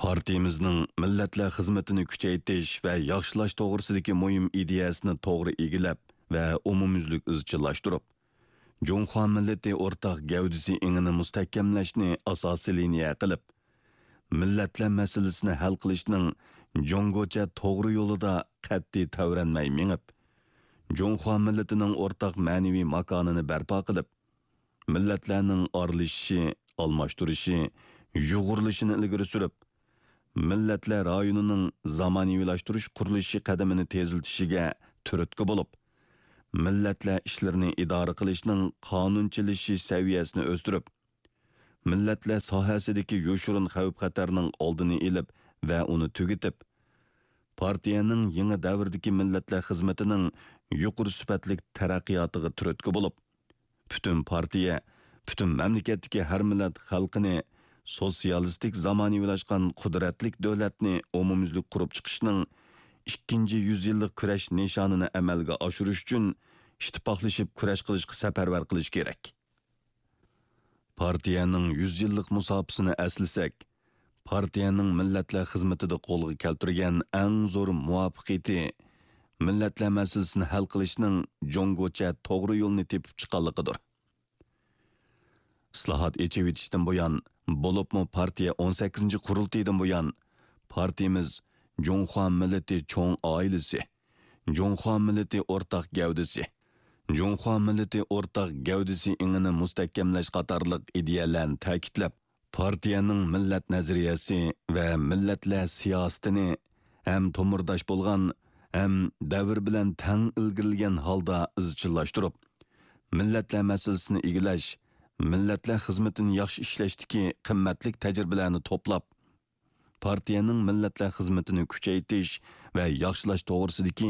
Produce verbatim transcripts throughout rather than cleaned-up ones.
پارتىيىمىزنىڭ مىللەتلەر خىزمىتىنى كۈچەيتىش ۋە ياخشىلاش توغرىسىدىكى مۇھىم ئىدىيەسىنى توغرا ئىگىلەپ ۋە ئومۇميۈزلۈك ئىزچىللاشتۇرۇپ، جۇڭخۇا مىللىتى ئورتاق گەۋدىسى ئېڭىنى مۇستەھكەملەشنى ئاساسىي لىنىيە قىلىپ، مىللەتلەر مەسىلىسىنى ھەل قىلىشنىڭ جۇڭگوچە توغرا يولىدا قەتئىي تەۋرەنمەي مېڭىپ، جۇڭخۇا مىللىتىنىڭ ئورتاق مەنىۋى ماكانىنى بەرپا قىلىپ، مىللەتلەرنىڭ ئارىلىشىشى، ئالماشتۇرۇشى، يۇغۇرۇلۇشىنى ئىلگىرى سۈرۈپ، مىللەتلەر رايونىنىڭ زامانىۋىلاشتۇرۇش قۇرۇلۇشى قەدىمىنى تېزلىتىشىگە تۈرتكە بولۇپ، مىللەتلەر ئىشلىرىنى ئىدارە قىلىشنىڭ قانۇنچىلىشىش سەۋىيەسىنى ئۆستۈرۈپ، مىللەتلەر ساھەسىدىكى يوشۇرۇن خەۋپ-خەتەرنىڭ ئالدىنى ئېلىپ ۋە ئۇنى تۈگىتىپ، پارتىيەنىڭ يېڭى دەۋردىكى مىللەتلەر خىزمىتىنىڭ يۇقىرى سۈپەتلىك تەرەققىياتىغا تۈرتكە بولۇپ، پۈتۈن پارتىيە، پۈتۈن مەملىكەتتىكى ھەر مىللەت خەلقىنى سوتسىيالىستىك زامانىۋىلاشقان قۇدرەتلىك دۆلەتنى ئومۇميۈزلۈك قۇرۇپ چىقىشنىڭ ئىككىنچى يۈز يىللىق كۈرەش نىشانىنى ئەمەلگە ئاشۇرۇش ئۈچۈن ئىتتىپاقلىشىپ كۈرەش قىلىشقا سەپەرۋەر قىلىش كېرەك. پارتىيەنىڭ يۈز يىللىق مۇساپىسىنى ئەسلىسەك، پارتىيەنىڭ مىللەتلەر خىزمىتىدە قولغا كەلتۈرگەن ئەڭ زور مۇۋەپپەقىيىتى مىللەتلەر مەسىلىسىنى ھەل قىلىشنىڭ جۇڭگوچە توغرا يولنى تېپىپ چىققانلىقىدۇر. ئىسلاھات، ئېچىۋېتىشتىن بۇيان، بولۇپمۇ پارتىيە ئون سەككىزىنچى قۇرۇلتىيىدىن بۇيان، پارتىيىمىز جۇڭخۇا مىللىتى چوڭ ئائىلىسى، جۇڭخۇا مىللىتى ئورتاق گەۋدىسى، جۇڭخۇا مىللىتى ئورتاق گەۋدىسى ئېڭىنى مۇستەھكەملەش قاتارلىق ئىدىيەلەرنى تەكىتلەپ، پارتىيەنىڭ مىللەت نەزەرىيەسى ۋە مىللەتلەر سىياسىتىنى ھەم تومۇرداش بولغان، ھەم دەۋر بىلەن تەڭ ئىلگىرىلىگەن ھالدا ئىزچىللاشتۇرۇپ، مىللەتلەر مەسىلىسىنى ئىگىلەش، مىللەتلەر خىزمىتىنى ياخشى ئىشلەشتىكى قىممەتلىك تەجرىبىلەرنى توپلاپ، پارتىيەنىڭ مىللەتلەر خىزمىتىنى كۈچەيتىش ۋە ياخشىلاش توغرىسىدىكى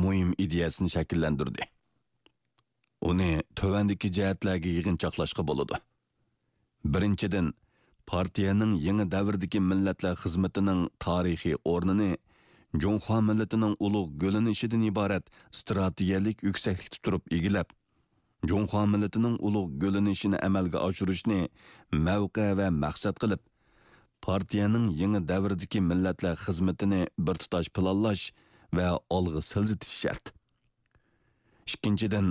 مۇھىم ئىدىيەسىنى شەكىللەندۈردى. ئۇنى تۆۋەندىكى جەھەتلەرگە يىغىنچاقلاشقا بولىدۇ. بىرىنچىدىن، پارتىيەنىڭ يېڭى دەۋردىكى مىللەتلەر خىزمىتىنىڭ تارىخىي ئورنىنى جۇڭخۇا مىللىتىنىڭ ئۇلۇغ گۈللىنىشىدىن ئىبارەت ئىستراتېگىيەلىك يۈكسەكلىكتە تۇرۇپ ئىگىلەپ، جۇڭخۇا مىللىتىنىڭ ئۇلۇغ گۈللىنىشىنى ئەمەلگە ئاشۇرۇشنى مەۋقە ۋە مەقسەت قىلىپ، پارتىيەنىڭ يېڭى دەۋردىكى مىللەتلەر خىزمىتىنى بىر تۇتاش پىلانلاش ۋە ئالغا سىلجىتىش شەرت. ئىككىنچىدىن،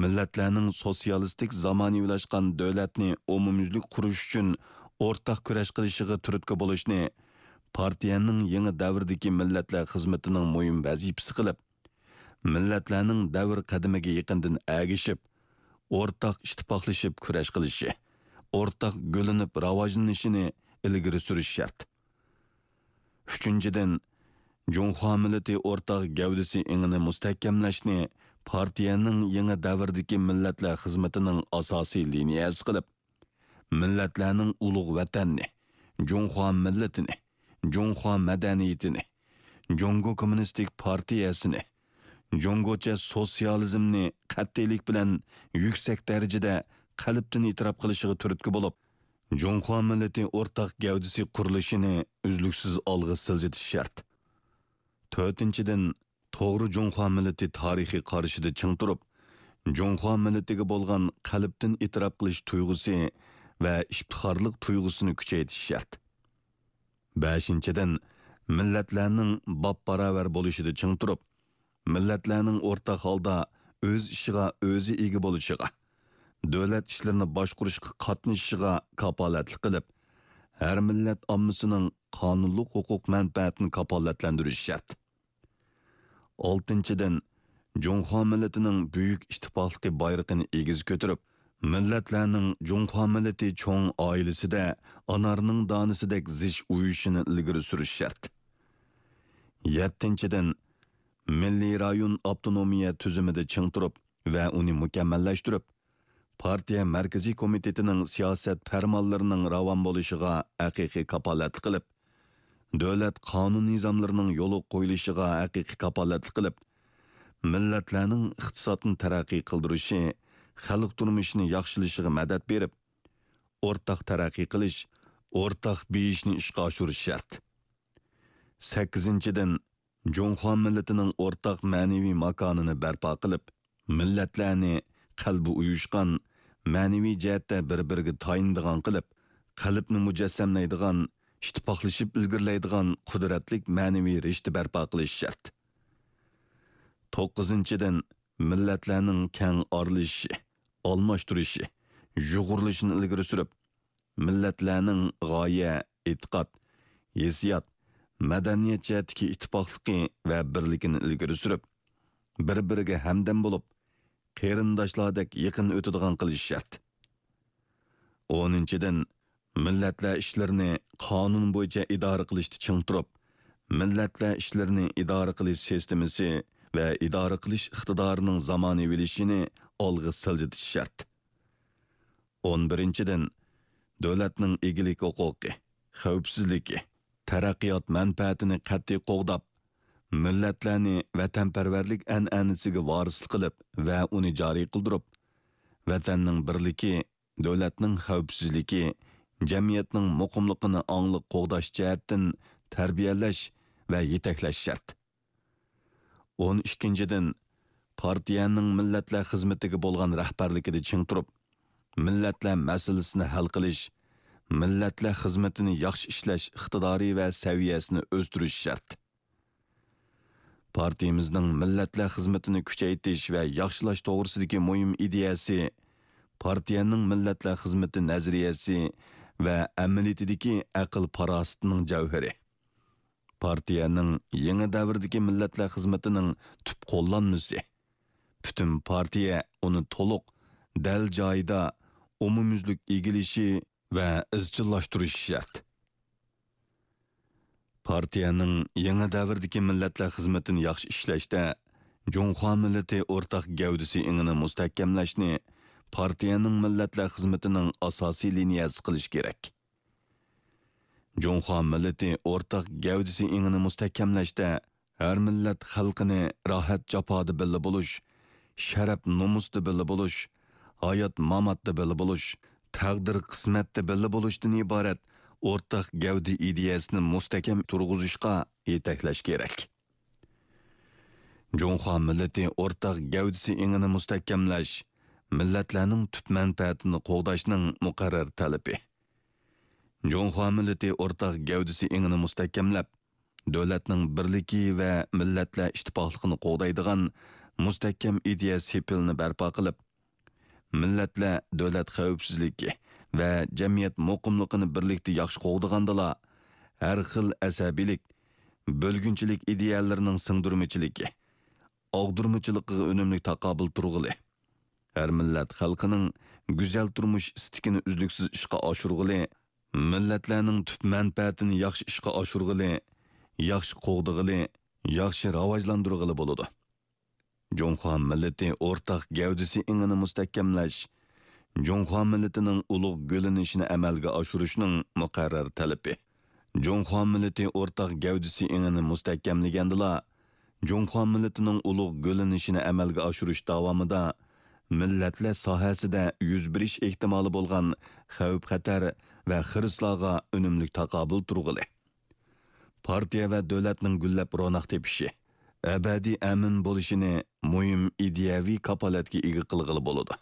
مىللەتلەرنىڭ سوتسىيالىستىك زامانىۋىلاشقان دۆلەتنى ئومۇميۈزلۈك قۇرۇش ئۈچۈن ئورتاق كۈرەش قىلىشىغا تۈرتكە بولۇشنى پارتىيەنىڭ يېڭى دەۋردىكى مىللەتلەر خىزمىتىنىڭ مۇھىم ۋەزىپىسى قىلىپ، مىللەتلەرنىڭ دەۋر قەدىمىگە يېقىندىن ئەگىشىپ، ئورتاق ئىتتىپاقلىشىپ كۈرەش قىلىشى، ئورتاق گۈللىنىپ راۋاجلىنىشىنى ئىلگىرى سۈرۈش شەرت. ئۈچىنچىدىن، جۇڭخۇا مىللىتى ئورتاق گەۋدىسى ئېڭىنى مۇستەھكەملەشنى پارتىيەنىڭ يېڭى دەۋردىكى مىللەتلەر خىزمىتىنىڭ ئاساسىي لىنىيەسى قىلىپ، مىللەتلەرنىڭ ئۇلۇغ ۋەتەننى، جۇڭخۇا مىللىتىنى، جۇڭخۇا مەدەنىيىتىنى، جۇڭگو كوممۇنىستىك پارتىيەسىنى، جۇڭگوچە سوتسىيالىزمنى قەتئىيلىك بىلەن يۈكسەك دەرىجىدە قەلبتىن ئېتىراپ قىلىشىغا تۈرتكە بولۇپ، جۇڭخۇا مىللىتى ئورتاق گەۋدىسى قۇرۇلۇشىنى ئۈزلۈكسىز ئالغا سىلجىتىش شەرت. تۆتىنچىدىن، توغرا جۇڭخۇا مىللىتى تارىخىي قارىشىدا چىڭ تۇرۇپ، جۇڭخۇا مىللىتىگە بولغان قەلبتىن ئېتىراپ قىلىش تۇيغۇسى ۋە ئىپتىخارلىق تۇيغۇسىنى كۈچەيتىش شەرت. بەشىنچىدىن، مىللەتلەرنىڭ باپباراۋەر بولۇشىدا چىڭ تۇرۇپ، مىللەتلەرنىڭ ئورتاق ھالدا ئۆز ئىشىغا ئۆزى ئىگە بولۇشىغا، دۆلەت ئىشلىرىنى باشقۇرۇشقا قاتنىشىشىغا كاپالەتلىك قىلىپ، ھەر مىللەت ئاممىسىنىڭ قانۇنلۇق ھوقۇق مەنپەئەتىنى كاپالەتلەندۈرۈش شەرت. ئالتىنچىدىن، جۇڭخۇا مىللىتىنىڭ بۈيۈك ئىتتىپاقلىقى بايرىقىنى ئېگىز كۆتۈرۈپ، مىللەتلەرنىڭ جۇڭخۇا مىللىتى چوڭ ئائىلىسىدە ئانارنىڭ دانىسىدەك زىچ ئۇيۇشۇشىنى ئىلگىرى سۈرۈش شەرت. يەتتىنچىدىن، مىللىي رايون ئاپتونومىيە تۈزۈمىدە چىڭ تۇرۇپ ۋە ئۇنى مۇكەممەللەشتۈرۈپ، پارتىيە مەركىزىي كومىتېتىنىڭ سىياسەت پەرمانلىرىنىڭ راۋان بولۇشىغا ھەقىقىي كاپالەتلىك قىلىپ، دۆلەت قانۇن نىزاملىرىنىڭ يولغا قويۇلۇشىغا ھەقىقىي كاپالەتلىك قىلىپ، مىللەتلەرنىڭ ئىقتىسادنى تەرەققىي قىلدۇرۇشى، خەلق تۇرمۇشىنى ياخشىلىشىغا مەدەت بېرىپ، ئورتاق تەرەققىي قىلىش، ئورتاق بېيىشنى ئىشقا ئاشۇرۇش شەرت. سەككىزىنچىدىن، جۇڭخۇا مىللىتىنىڭ ئورتاق مەنىۋى ماكانىنى بەرپا قىلىپ، مىللەتلەرنى قەلبى ئۇيۇشقان، مەنىۋى جەھەتتە بىر-بىرىگە تايىنىدىغان قىلىپ، قەلبنى مۇجەسسەملەيدىغان، ئىتتىپاقلىشىپ ئىلگىرىلەيدىغان قۇدرەتلىك مەنىۋى رىشتە بەرپا قىلىش شەرت. توققۇزىنچىدىن، مىللەتلەرنىڭ كەڭ ئارىلىشىشى، ئالماشتۇرۇشى، يۇغۇرۇلۇشىنى ئىلگىرى سۈرۈپ، مىللەتلەرنىڭ غايە، ئېتىقاد، ھېسسىيات، مەدەنىيەت جەھەتتىكى ئىتتىپاقلىقى ۋە بىرلىكىنى ئىلگىرى سۈرۈپ، بىر-بىرىگە ھەمدەم بولۇپ، قېرىنداشلاردەك يېقىن ئۆتىدىغان قىلىش شەرت. ئونىنچىدىن، مىللەتلەر ئىشلىرىنى قانۇن بويىچە ئىدارە قىلىشتا چىڭ تۇرۇپ، مىللەتلەر ئىشلىرىنى ئىدارە قىلىش سىستېمىسى ۋە ئىدارە قىلىش ئىقتىدارىنىڭ زامانىۋىلىشىشىنى ئالغا سىلجىتىش شەرت. ئون بىرىنچىدىن، دۆلەتنىڭ ئىگىلىك ھوقۇقى، خەۋپسىزلىكى، تەرەققىيات مەنپەئەتىنى قەتئىي قوغداپ، مىللەتلەرنى ۋەتەنپەرۋەرلىك ئەنئەنىسىگە ۋارىسلىق قىلىپ ۋە ئۇنى جارى قىلدۇرۇپ، ۋەتەننىڭ بىرلىكى، دۆلەتنىڭ خەۋپسىزلىكى، جەمئىيەتنىڭ مۇقىملىقىنى ئاڭلىق قوغداش جەھەتتىن تەربىيەلەش ۋە يېتەكلەش شەرت. ئون ئىككىنچىدىن، پارتىيەنىڭ مىللەتلەر خىزمىتىگە بولغان رەھبەرلىكىدە چىڭ تۇرۇپ، مىللەتلەر مەسىلىسىنى ھەل قىلىش، مىللەتلەر خىزمىتىنى ياخشى ئىشلەش ئىقتىدارى ۋە سەۋىيەسىنى ئۆستۈرۈش شەرت. پارتىيىمىزنىڭ مىللەتلەر خىزمىتىنى كۈچەيتىش ۋە ياخشىلاش توغرىسىدىكى مۇھىم ئىدىيەسى، پارتىيەنىڭ مىللەتلەر خىزمىتى نەزەرىيەسى ۋە ئەمەلىيىتىدىكى ئەقىل-پاراسىتىنىڭ جەۋھىرى. پارتىيەنىڭ يېڭى دەۋردىكى مىللەتلەر خىزمىتىنىڭ تۈپ قوللانمىسى. پۈتۈن پارتىيە ئۇنى تولۇق، دەل جايىدا، ئومۇميۈزلۈك ئىگىلىشى ۋە ئىزچىللاشتۇرۇشى شەرت. پارتىيەنىڭ يېڭى دەۋردىكى مىللەتلەر خىزمىتىنى ياخشى ئىشلەشتە، جۇڭخۇا مىللىتى ئورتاق گەۋدىسى ئېڭىنى مۇستەھكەملەشنى پارتىيەنىڭ مىللەتلەر خىزمىتىنىڭ ئاساسىي لىنىيەسى قىلىش كېرەك. جۇڭخۇا مىللىتى ئورتاق گەۋدىسى ئېڭىنى مۇستەھكەملەشتە، ھەر مىللەت خەلقىنى راھەت-جاپادا بىللە بولۇش، شەرەپ-نومۇستا بىللە بولۇش، ھايات-ماماتتا بىللە بولۇش، تەقدىر-قىسمەتتە بىللە بولۇشتىن ئىبارەت ئورتاق گەۋدە ئىدىيەسىنى مۇستەھكەم تۇرغۇزۇشقا يېتەكلەش كېرەك. جۇڭخۇا مىللىتى ئورتاق گەۋدىسى ئېڭىنى مۇستەھكەملەش، مىللەتلەرنىڭ تۈپ مەنپەئەتىنى قوغداشنىڭ مۇقەررەر تەلىپى. جۇڭخۇا مىللىتى ئورتاق گەۋدىسى ئېڭىنى مۇستەھكەملەپ، دۆلەتنىڭ بىرلىكى ۋە مىللەتلەر ئىتتىپاقلىقىنى قوغدايدىغان مۇستەھكەم ئىدىيە سېپىلىنى بەرپا قىلىپ، مىللەتلەر دۆلەت خەۋپسىزلىكى ۋە جەمئىيەت مۇقىملىقىنى بىرلىكتە ياخشى قوغدىغاندىلا، ھەر خىل ئەسەبىيلىك، بۆلگۈنچىلىك ئىدىيەلىرىنىڭ سىڭدۈرمىچىلىكى، ئاغدۇرمىچىلىقىغا ئۈنۈملۈك تاقابىل تۇرغىلى، ھەر مىللەت خەلقىنىڭ گۈزەل تۇرمۇش ئىستىكىنى ئۈزلۈكسىز ئىشقا ئاشۇرغىلى، مىللەتلەرنىڭ تۈپ مەنپەئەتىنى ياخشى ئىشقا ئاشۇرغىلى، ياخشى قوغدىغىلى، ياخشى راۋاجلاندۇرغىلى بولىدۇ. جۇڭخۇا مىللىتى ئورتاق گەۋدىسى ئېڭىنى مۇستەھكەملەش، جۇڭخۇا مىللىتىنىڭ ئۇلۇغ گۈللىنىشىنى ئەمەلگە ئاشۇرۇشنىڭ مۇقەررەر تەلىپى. جۇڭخۇا مىللىتى ئورتاق گەۋدىسى ئېڭىنى مۇستەھكەملىگەندىلا، جۇڭخۇا مىللىتىنىڭ ئۇلۇغ گۈللىنىشىنى ئەمەلگە ئاشۇرۇش داۋامىدا مىللەتلەر ساھەسىدە يۈز بېرىش ئېھتىمالى بولغان خەۋپ-خەتەر ۋە خىرىسلارغا ئۈنۈملۈك تاقابىل تۇرغىلى، پارتىيە ۋە دۆلەتنىڭ گۈللەپ روناق تېپىشى، ئەبەدىي ئەمىن بولۇشىنى مۇھىم ئىدىيەۋى كاپالەتكە ئىگە قىلغىلى بولىدۇ.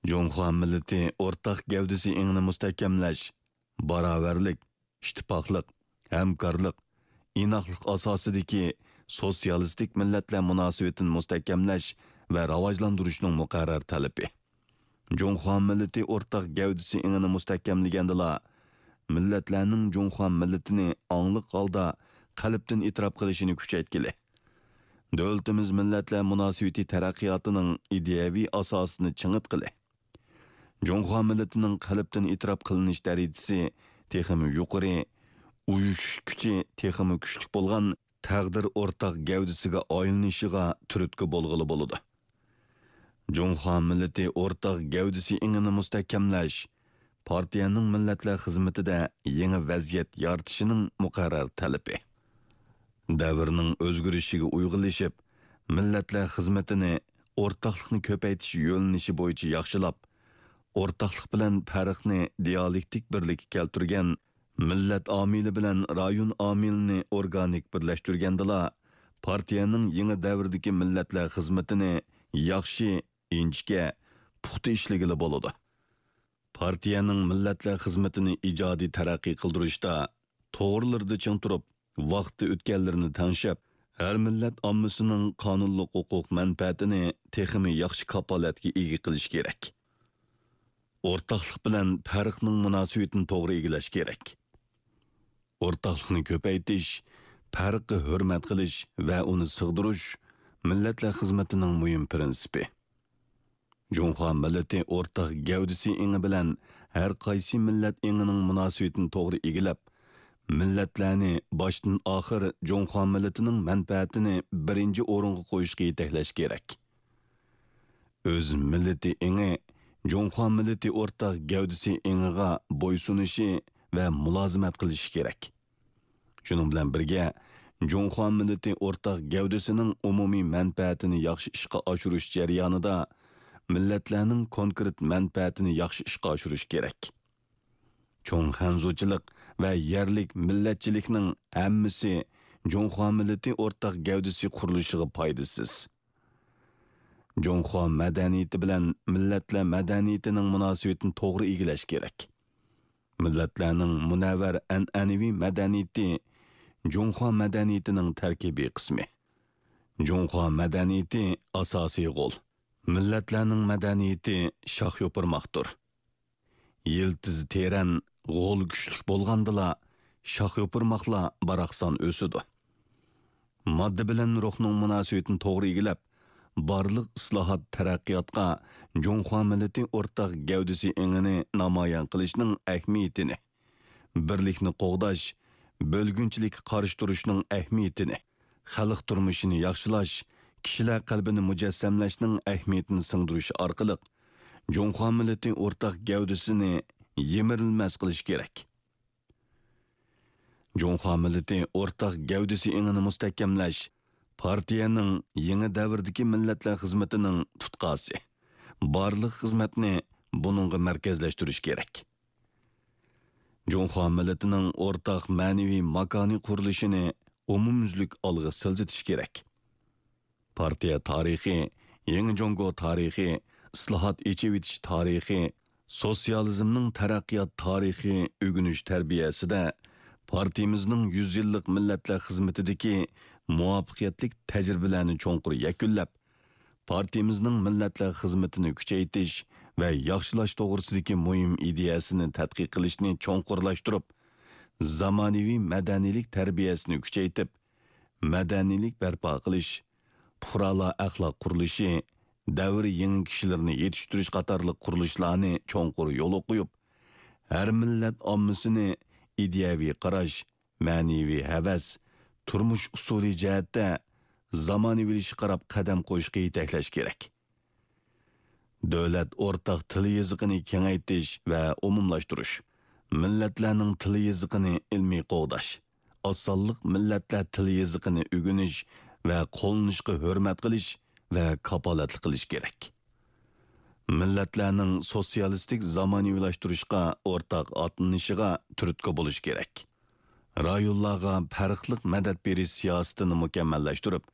جۇڭخۇا مىللىتى ئورتاق گەۋدىسى ئېڭىنى مۇستەھكەملەش، باراۋەرلىك، ئىتتىپاقلىق، ھەمكارلىق، ئىناقلىق ئاساسىدىكى سوتسىيالىستىك مىللەتلەر مۇناسىۋىتىنى مۇستەھكەملەش ۋە راۋاجلاندۇرۇشنىڭ مۇقەررەر تەلىپى. جۇڭخۇا مىللىتى ئورتاق گەۋدىسى ئېڭىنى مۇستەھكەملىگەندىلا، مىللەتلەرنىڭ جۇڭخۇا مىللىتىنى ئاڭلىق ھالدا قەلبتىن ئېتىراپ قىلىشىنى كۈچەيتكىلى، دۆلىتىمىز مىللەتلەر مۇناسىۋىتى تەرەققىياتىنىڭ ئىدىيەۋى ئاساسىنى چىڭىتقىلى، جۇڭخۇا مىللىتىنىڭ قەلبتىن ئېتىراپ قىلىنىش دەرىجىسى تېخىمۇ يۇقىرى، ئۇيۇشۇش كۈچى تېخىمۇ كۈچلۈك بولغان تەقدىر ئورتاق گەۋدىسىگە ئايلىنىشىغا تۈرتكە بولغىلى بولىدۇ. جۇڭخۇا مىللىتى ئورتاق گەۋدىسى ئېڭىنى مۇستەھكەملەش، پارتىيەنىڭ مىللەتلەر خىزمىتىدە يېڭى ۋەزىيەت يارىتىشىنىڭ مۇقەررەر تەلىپى. دەۋرنىڭ ئۆزگىرىشىگە ئۇيغۇنلىشىپ، مىللەتلەر خىزمىتىنى ئورتاقلىقنى كۆپەيتىش يۆنىلىشى بويىچە ياخشىلاپ، ئورتاقلىق بىلەن پەرقنى دىيالېكتىك بىرلىككە كەلتۈرگەن، مىللەت ئامىلى بىلەن رايون ئامىلىنى ئورگانىك بىرلەشتۈرگەندىلا، پارتىيەنىڭ يېڭى دەۋردىكى مىللەتلەر خىزمىتىنى ياخشى، ئىنچىكە، پۇختا ئىشلىگىلى بولىدۇ. پارتىيەنىڭ مىللەتلەر خىزمىتىنى ئىجادىي تەرەققىي قىلدۇرۇشتا توغرىلىرىدا چىڭ تۇرۇپ، ۋاقتى ئۆتكەنلىرىنى تەڭشەپ، ھەر مىللەت ئاممىسىنىڭ قانۇنلۇق ھوقۇق مەنپەئەتىنى تېخىمۇ ياخشى كاپالەتكە ئىگە قىلىش كېرەك. ئورتاقلىق بىلەن پەرقنىڭ مۇناسىۋىتىنى توغرا ئىگىلەش كېرەك. ئورتاقلىقنى كۆپەيتىش، پەرققە ھۆرمەت قىلىش ۋە ئۇنى سىغدۇرۇش مىللەتلەر خىزمىتىنىڭ مۇھىم پىرىنسىپى. جۇڭخۇا مىللىتى ئورتاق گەۋدىسى ئېڭى بىلەن ھەر قايسى مىللەت ئېڭىنىڭ مۇناسىۋىتىنى توغرا ئىگىلەپ، مىللەتلەرنى باشتىن ئاخىر جۇڭخۇا مىللىتىنىڭ مەنپەئەتىنى بىرىنچى ئورۇنغا قويۇشقا يېتەكلەش كېرەك. ئۆز مىللىتى ئېڭى جۇڭخۇا مىللىتى ئورتاق گەۋدىسى ئېڭىغا بويسۇنۇشى ۋە مۇلازىمەت قىلىشى كېرەك. شۇنىڭ بىلەن بىرگە، جۇڭخۇا مىللىتى ئورتاق گەۋدىسىنىڭ ئومۇمىي مەنپەئەتىنى ياخشى ئىشقا ئاشۇرۇش جەريانىدا مىللەتلەرنىڭ كونكرېت مەنپەئەتىنى ياخشى ئىشقا ئاشۇرۇش كېرەك. چوڭ خەنزۇچىلىق ۋە يەرلىك مىللەتچىلىكنىڭ ھەممىسى جۇڭخۇا مىللىتى ئورتاق گەۋدىسى قۇرۇلۇشىغا پايدىسىز. جۇڭخۇا مەدەنىيىتى بىلەن مىللەتلەر مەدەنىيىتىنىڭ مۇناسىۋىتىنى توغرا ئىگىلەش كېرەك. مىللەتلەرنىڭ مۇنەۋۋەر ئەنئەنىۋى مەدەنىيىتى جۇڭخۇا مەدەنىيىتىنىڭ تەركىبىي قىسمى. جۇڭخۇا مەدەنىيىتى ئاساسىي غول. مىللەتلەرنىڭ مەدەنىيىتى شاخ يوپۇرماقتۇر. يىلتىزى تېرەن، غول كۈچلۈك بولغاندىلا، شاخ يوپۇرماقلار باراقسان ئۆسىدۇ. ماددا بىلەن روھنىڭ مۇناسىۋىتىنى توغرا ئىگىلەپ، بارلىق ئىسلاھات، تەرەققىياتقا جۇڭخۇا مىللىتى ئورتاق گەۋدىسى ئېڭىنى نامايان قىلىشنىڭ ئەھمىيىتىنى، بىرلىكنى قوغداش، بۆلگۈنچىلىككە قارشى تۇرۇشنىڭ ئەھمىيىتىنى، خەلق تۇرمۇشىنى ياخشىلاش، كىشىلەر قەلبىنى مۇجەسسەملەشنىڭ ئەھمىيىتىنى سىڭدۈرۈش ئارقىلىق، جۇڭخۇا مىللىتى ئورتاق گەۋدىسىنى يىمىرىلمەس قىلىش كېرەك. جۇڭخۇا مىللىتى ئورتاق گەۋدىسى ئېڭىنى مۇستەھكەملەش پارتىيەنىڭ يېڭى دەۋردىكى مىللەتلەر خىزمىتىنىڭ تۇتقاسى. بارلىق خىزمەتنى بۇنىڭغا مەركەزلەشتۈرۈش كېرەك. جۇڭخۇا مىللىتىنىڭ ئورتاق مەنىۋى ماكانىي قۇرۇلۇشىنى ئومۇميۈزلۈك ئالغا سىلجىتىش كېرەك. پارتىيە تارىخى، يېڭى جۇڭگو تارىخى، ئىسلاھات، ئېچىۋېتىش تارىخى، سوتسىيالىزمنىڭ تەرەققىيات تارىخى ئۆگىنىش تەربىيەسىدە پارتىيىمىزنىڭ يۈز يىللىق مىللەتلەر خىزمىتىدىكى مۇۋەپپەقىيەتلىك تەجرىبىلەرنى چوڭقۇر يەكۈنلەپ، پارتىيىمىزنىڭ مىللەتلەر خىزمىتىنى كۈچەيتىش ۋە ياخشىلاش توغرىسىدىكى مۇھىم ئىدىيەسىنى تەتقىق قىلىشنى چوڭقۇرلاشتۇرۇپ، زامانىۋى مەدەنىيلىك تەربىيەسىنى كۈچەيتىپ، مەدەنىيلىك بەرپا قىلىش، پۇقرالار ئەخلاق قۇرۇلۇشى، دەۋر يېڭى كىشىلىرىنى يېتىشتۈرۈش قاتارلىق قۇرۇلۇشلارنى چوڭقۇر يولغا قويۇپ، ھەر مىللەت ئاممىسىنى ئىدىيەۋى قاراش، مەنىۋى ھەۋەس، تۇرمۇش ئۇسۇلى جەھەتتە زامانىۋىلىشىشقا قاراپ قەدەم قويۇشقا يېتەكلەش كېرەك. دۆلەت ئورتاق تىل يېزىقىنى كېڭەيتىش ۋە ئومۇملاشتۇرۇش، مىللەتلەرنىڭ تىل يېزىقىنى ئىلمىي قوغداش، ئاز سانلىق مىللەتلەر تىل يېزىقىنى ئۆگىنىش ۋە قوللىنىشقا ھۆرمەت قىلىش ۋە كاپالەتلىك قىلىش كېرەك. مىللەتلەرنىڭ سوتسىيالىستىك زامانىۋىلاشتۇرۇشقا ئورتاق ئاتلىنىشىغا تۈرتكە بولۇش كېرەك. رايونلارغا پەرقلىق مەدەت بېرىش سىياسىتىنى مۇكەممەللەشتۈرۈپ،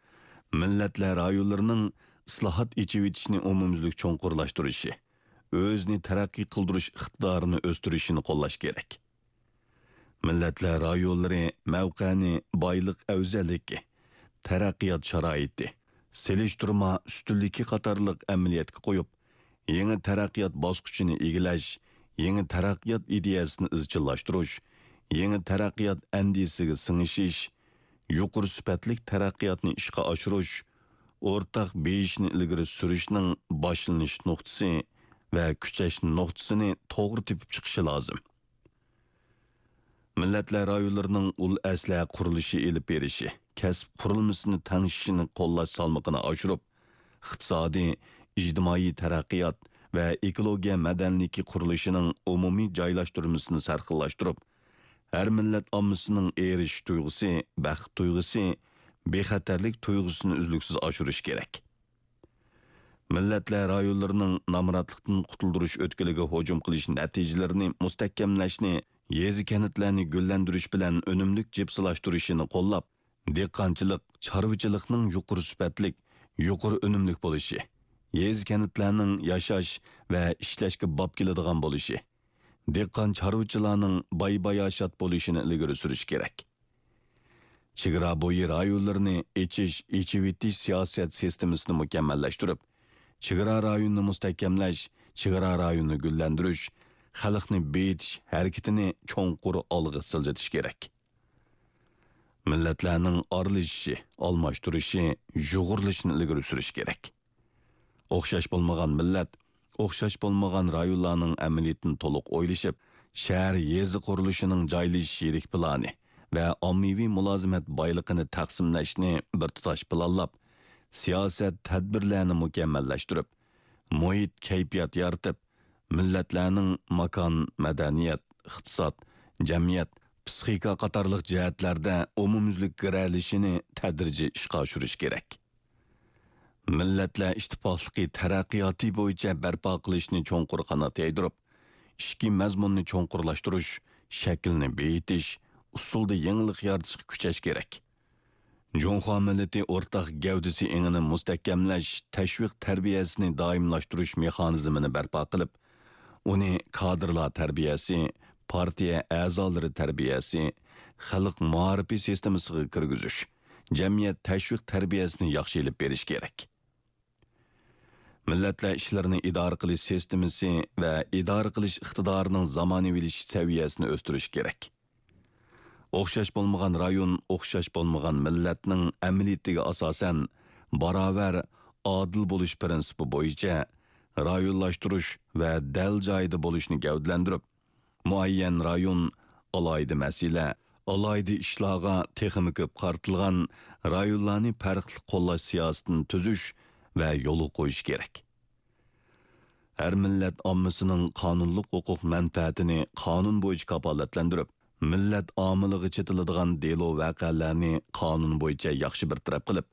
مىللەتلەر رايونلىرىنىڭ ئىسلاھات، ئېچىۋېتىشنى ئومۇميۈزلۈك چوڭقۇرلاشتۇرۇشى، ئۆزىنى تەرەققىي قىلدۇرۇش ئىقتىدارىنى ئۆستۈرۈشىنى قوللاش كېرەك. مىللەتلەر رايونلىرى مەۋقەنى بايلىق ئەۋزەللىكى، تەرەققىيات شارائىتى، سېلىشتۇرما ئۈستۈنلۈكى قاتارلىق ئەمەلىيەتكە قويۇپ، يېڭى تەرەققىيات باسقۇچىنى ئىگىلەش، يېڭى تەرەققىيات ئىدىيەسىنى ئىزچىللاشتۇرۇش، يېڭى تەرەققىيات ئەندىزىسىگە سىڭىشىش، يۇقىرى سۈپەتلىك تەرەققىياتنى ئىشقا ئاشۇرۇش، ئورتاق بېيىشنى ئىلگىرى سۈرۈشنىڭ باشلىنىش نۇقتىسى ۋە كۈچەش نۇقتىسىنى توغرا تېپىپ چىقىشى لازىم. مىللەتلەر رايونلىرىنىڭ ئۇل ئەسلىھە قۇرۇلۇشى ئېلىپ بېرىشى، كەسىپ قۇرۇلمىسىنى تەڭشىشىنى قوللاش سالمىقىنى ئاشۇرۇپ، ئىقتىسادىي، ئىجتىمائىي تەرەققىيات ۋە ئېكولوگىيە مەدەنىيلىكى قۇرۇلۇشىنىڭ ئومۇمىي جايلاشتۇرمىسىنى سەرخىللاشتۇرۇپ، ھەر مىللەت ئاممىسىنىڭ ئېرىشىش تۇيغۇسى، بەخت تۇيغۇسى، بىخەتەرلىك تۇيغۇسىنى ئۈزلۈكسىز ئاشۇرۇش كېرەك. مىللەتلەر رايونلىرىنىڭ نامراتلىقتىن قۇتۇلدۇرۇش ئۆتكىلىگە ھۇجۇم قىلىش نەتىجىلىرىنى مۇستەھكەملەشنى، يېزا-كەنتلەرنى گۈللەندۈرۈش بىلەن ئۈنۈملۈك جىپسىلاشتۇرۇشىنى قوللاپ، دېھقانچىلىق، چارۋىچىلىقنىڭ يۇقىرى سۈپەتلىك، يۇقىرى ئۈنۈملۈك بولۇشى، يېزا-كەنتلەرنىڭ ياشاش ۋە ئىشلەشكە باب كېلىدىغان بولۇشى، دېھقان-چارۋىچىلارنىڭ باي-باياشات بولۇشىنى ئىلگىرى سۈرۈش كېرەك. چېگرا بويى رايونلىرىنى ئېچىش، ئېچىۋېتىش سىياسەت سىستېمىسىنى مۇكەممەللەشتۈرۈپ، چېگرا رايونىنى مۇستەھكەملەش، چېگرا رايونىنى گۈللەندۈرۈش، خەلقنى بېيىتىش ھەرىكىتىنى چوڭقۇر ئالغا سىلجىتىش كېرەك. مىللەتلەرنىڭ ئارىلىشىشى، ئالماشتۇرۇشى، يۇغۇرۇلۇشىنى ئىلگىرى سۈرۈش كېرەك. ئوخشاش بولمىغان مىللەت، ئوخشاش بولمىغان رايونلارنىڭ ئەمەلىيىتىنى تولۇق ئويلىشىپ، شەھەر، يېزا قۇرۇلۇشىنىڭ جايلىشىش يىرىك پىلانى ۋە ئاممىۋى مۇلازىمەت بايلىقىنى تەقسىملەشنى بىر تۇتاش پىلانلاپ، سىياسەت، تەدبىرلەرنى مۇكەممەللەشتۈرۈپ، مۇھىت، كەيپىيات يارىتىپ، مىللەتلەرنىڭ ماكان، مەدەنىيەت، ئىقتىساد، جەمئىيەت، پىسخىكا قاتارلىق جەھەتلەردە ئومۇميۈزلۈك گىرەلىشىنى تەدرىجىي ئىشقا ئاشۇرۇش كېرەك. مىللەتلەر ئىتتىپاقلىقى تەرەققىياتى بويىچە بەرپا قىلىشنى چوڭقۇر قانات يايدۇرۇپ، ئىچكى مەزمۇننى چوڭقۇرلاشتۇرۇش، شەكىلنى بېيىتىش، ئۇسۇلدا يېڭىلىق يارىتىشقا كۈچەش كېرەك. جۇڭخۇا مىللىتى ئورتاق گەۋدىسى ئېڭىنى مۇستەھكەملەش، تەشۋىق تەربىيەسىنى دائىملاشتۇرۇش مېخانىزمىنى بەرپا قىلىپ، ئۇنى كادىرلار تەربىيەسى، پارتىيە ئەزالىرى تەربىيەسى، خەلق مائارىپى سىستېمىسىغا كىرگۈزۈش، جەمئىيەت تەشۋىق تەربىيەسىنى ياخشى ئېلىپ بېرىش كېرەك. مىللەتلەر ئىشلىرىنى ئىدارە قىلىش سىستېمىسى ۋە ئىدارە قىلىش ئىقتىدارىنىڭ زامانىۋىلىشىش سەۋىيەسىنى ئۆستۈرۈش كېرەك. ئوخشاش بولمىغان رايون، ئوخشاش بولمىغان مىللەتنىڭ ئەمەلىيىتىگە ئاساسەن، باراۋەر، ئادىل بولۇش پىرىنسىپى بويىچە رايونلاشتۇرۇش ۋە دەل جايىدا بولۇشنى گەۋدىلەندۈرۈپ، مۇئەييەن رايون، ئالاھىدە مەسىلە، ئالاھىدە ئىشلارغا تېخىمۇ كۆپ قارىتىلغان رايونلارنى پەرقلىق قوللاش سىياسىتىنى تۈزۈش ۋە يولغا قويۇش كېرەك. ھەر مىللەت ئاممىسىنىڭ قانۇنلۇق ھوقۇق مەنپەئەتىنى قانۇن بويىچە كاپالەتلەندۈرۈپ، مىللەت ئامىلىغا چېتىلىدىغان دېلو ۋەقەلەرنى قانۇن بويىچە ياخشى بىر تەرەپ قىلىپ،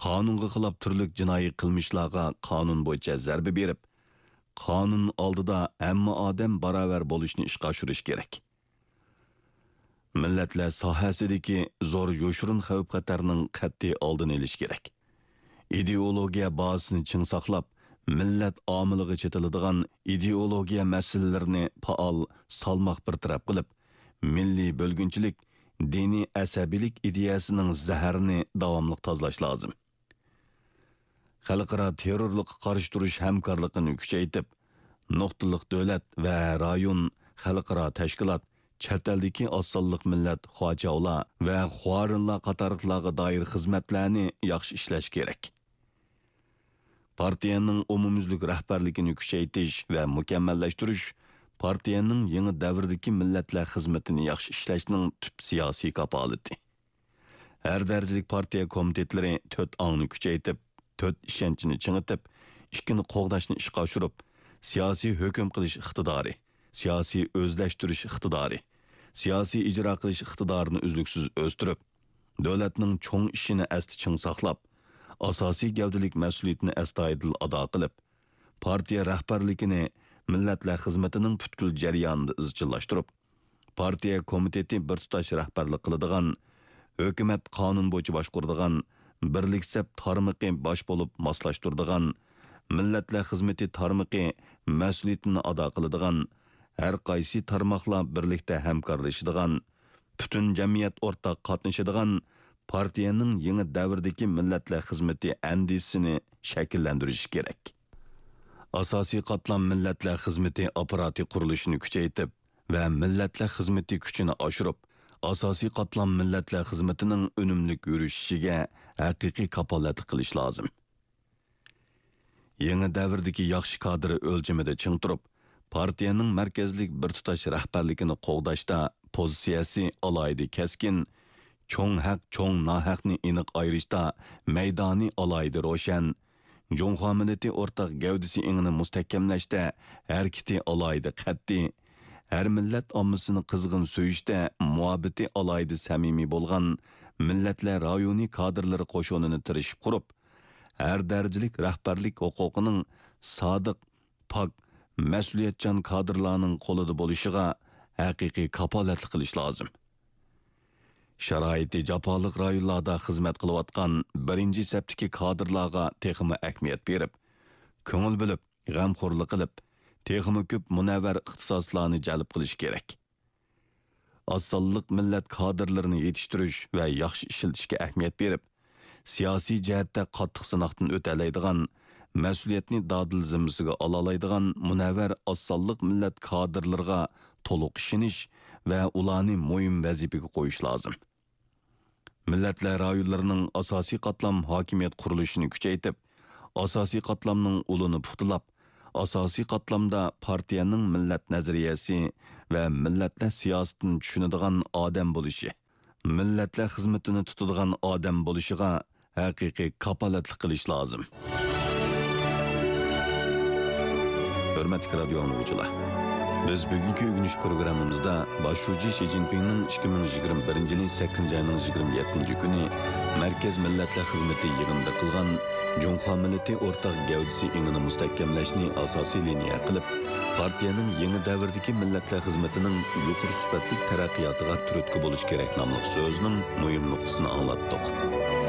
قانۇنغا خىلاپ تۈرلۈك جىنايى قىلمىشلارغا قانۇن بويىچە زەربە بېرىپ، قانۇن ئالدىدا ھەممە ئادەم باراۋەر بولۇشنى ئىشقا ئاشۇرۇش كېرەك. مىللەتلەر ساھەسىدىكى زور يوشۇرۇن خەۋپ-خەتەرنىڭ قەتئىي ئالدىنى ئېلىش كېرەك. ئىدېئولوگىيە بازىسىنى چىڭ ساقلاپ، مىللەت ئامىلىغا چېتىلىدىغان ئىدېئولوگىيە مەسىلىلىرىنى پائال سالماق بىر تەرەپ قىلىپ، مىللىي بۆلگۈنچىلىك، دىنىي ئەسەبىيلىك ئىدىيەسىنىڭ زەھىرىنى داۋاملىق تازىلاش لازىم. خەلقئارا تېررورلۇققا قارشى تۇرۇش ھەمكارلىقىنى كۈچەيتىپ، نۇقتىلىق دۆلەت ۋە رايون، خەلقئارا تەشكىلات، چەت ئەلدىكى ئاز سانلىق مىللەت خۇاچاۋلار ۋە خۇارىنلار قاتارلىقلارغا دائىر خىزمەتلەرنى ياخشى ئىشلەش كېرەك. پارتىيەنىڭ ئومۇميۈزلۈك رەھبەرلىكىنى كۈچەيتىش ۋە مۇكەممەللەشتۈرۈش پارتىيەنىڭ يېڭى دەۋردىكى مىللەتلەر خىزمىتىنى ياخشى ئىشلەشنىڭ تۈپ سىياسىي كاپالىتى. ھەر دەرىجىلىك پارتىيە كومىتېتلىرى تۆت ئاڭنى كۈچەيتىپ، تۆت ئىشەنچنى چىڭىتىپ، ئىككىنى قوغداشنى ئىشقا ئاشۇرۇپ، سىياسىي ھۆكۈم قىلىش ئىقتىدارى، سىياسىي ئۆزلەشتۈرۈش ئىقتىدارى، سىياسىي ئىجرا قىلىش ئىقتىدارىنى ئۈزلۈكسىز ئۆستۈرۈپ، دۆلەتنىڭ چوڭ ئىشىنى ئەستە چىڭ ساقلاپ، ئاساسىي گەۋدىلىك مەسئۇلىيىتىنى ئەستايىدىل ئادا قىلىپ، پارتىيە رەھبەرلىكىنى مىللەتلەر خىزمىتىنىڭ پۈتكۈل جەريانىدا ئىزچىللاشتۇرۇپ، پارتىيە كومىتېتى بىر تۇتاش رەھبەرلىك قىلىدىغان، ھۆكۈمەت قانۇن بويىچە باشقۇرىدىغان، بىرلىك سەپ تارمىقى باش بولۇپ ماسلاشتۇرىدىغان، مىللەتلەر خىزمىتى تارمىقى مەسئۇلىيىتىنى ئادا قىلىدىغان، ھەر قايسى تارماقلار بىرلىكتە ھەمكارلىشىدىغان، پۈتۈن جەمئىيەت ئورتاق قاتنىشىدىغان پارتىيەنىڭ يېڭى دەۋردىكى مىللەتلەر خىزمىتى ئەندىزىسىنى شەكىللەندۈرۈشى كېرەك. ئاساسىي قاتلام مىللەتلەر خىزمىتى ئاپپاراتى قۇرۇلۇشىنى كۈچەيتىپ ۋە مىللەتلەر خىزمىتى كۈچىنى ئاشۇرۇپ، ئاساسىي قاتلام مىللەتلەر خىزمىتىنىڭ ئۈنۈملۈك يۈرۈشۈشىگە ھەقىقىي كاپالەتلىك قىلىش لازىم. يېڭى دەۋردىكى ياخشى كادىر ئۆلچىمىدە چىڭ تۇرۇپ، پارتىيەنىڭ مەركەزلىك بىر تۇتاش رەھبەرلىكىنى قوغداشتا پوزىتسىيەسى ئالاھىدە كەسكىن، چوڭ ھەق، چوڭ ناھەقنى ئېنىق ئايرىشتا مەيدانى ئالاھىدە روشەن، جۇڭخۇا مىللىتى ئورتاق گەۋدىسى ئېڭىنى مۇستەھكەملەشتە ھەرىكىتى ئالاھىدە قەتئىي، ھەر مىللەت ئاممىسىنى قىزغىن سۆيۈشتە مۇھەببىتى ئالاھىدە سەمىمىي بولغان مىللەتلەر رايونى كادىرلىرى قوشۇنىنى تىرىشىپ قۇرۇپ، ھەر دەرىجىلىك رەھبەرلىك ھوقۇقىنىڭ سادىق، پاك، مەسئۇلىيەتچان كادىرلارنىڭ قولىدا بولۇشىغا ھەقىقىي كاپالەتلىك قىلىش لازىم. شارائىتى جاپالىق رايونلاردا خىزمەت قىلىۋاتقان بىرىنچى سەپتىكى كادىرلارغا تېخىمۇ ئەھمىيەت بېرىپ، كۆڭۈل بۆلۈپ، غەمخورلۇق قىلىپ، تېخىمۇ كۆپ مۇنەۋۋەر ئىختىساسلارنى جەلپ قىلىش كېرەك. ئاز سانلىق مىللەت كادىرلىرىنى يېتىشتۈرۈش ۋە ياخشى ئىشلىتىشكە ئەھمىيەت بېرىپ، سىياسىي جەھەتتە قاتتىق سىناقتىن ئۆتەلەيدىغان، مەسئۇلىيەتنى دادىل زىممىسىگە ئالالايدىغان مۇنەۋۋەر ئاز سانلىق مىللەت كادىرلىرىغا تولۇق ئىشىنىش ۋە ئۇلارنى مۇھىم ۋەزىپىگە قويۇش لازىم. مىللەتلەر رايونلىرىنىڭ ئاساسىي قاتلام ھاكىمىيەت قۇرۇلۇشىنى كۈچەيتىپ، ئاساسىي قاتلامنىڭ ئۇلىنى پۇختىلاپ، ئاساسىي قاتلامدا پارتىيەنىڭ مىللەت نەزەرىيەسى ۋە مىللەتلەر سىياسىتىنى چۈشىنىدىغان ئادەم بولۇشى، مىللەتلەر خىزمىتىنى تۇتىدىغان ئادەم بولۇشىغا ھەقىقىي كاپالەتلىك قىلىش لازىم. ھۆرمەتلىك رادىيو ئاڭلىغۇچىلار! بىز بۈگۈنكى ئۆگىنىش پروگراممىمىزدا باش شۇجى شى جىنپىڭنىڭ ئىككى مىڭ يىگىرمە بىرىنچى يىلى سەككىزىنچى ئاينىڭ يىگىرمە يەتتىنچى كۈنى مەركەز مىللەتلەر خىزمىتى يىغىنىدا قىلغان جۇڭخۇا مىللىتى ئورتاق گەۋدىسى ئېڭىنى مۇستەھكەملەشنى ئاساسىي لىنىيە قىلىپ، پارتىيەنىڭ يېڭى دەۋردىكى مىللەتلەر خىزمىتىنىڭ يۇقىرى سۈپەتلىك تەرەققىياتىغا تۈرتكە بولۇش كېرەك ناملىق سۆزىنىڭ مۇھىم نۇقتىسىنى ئاڭلاتتۇق.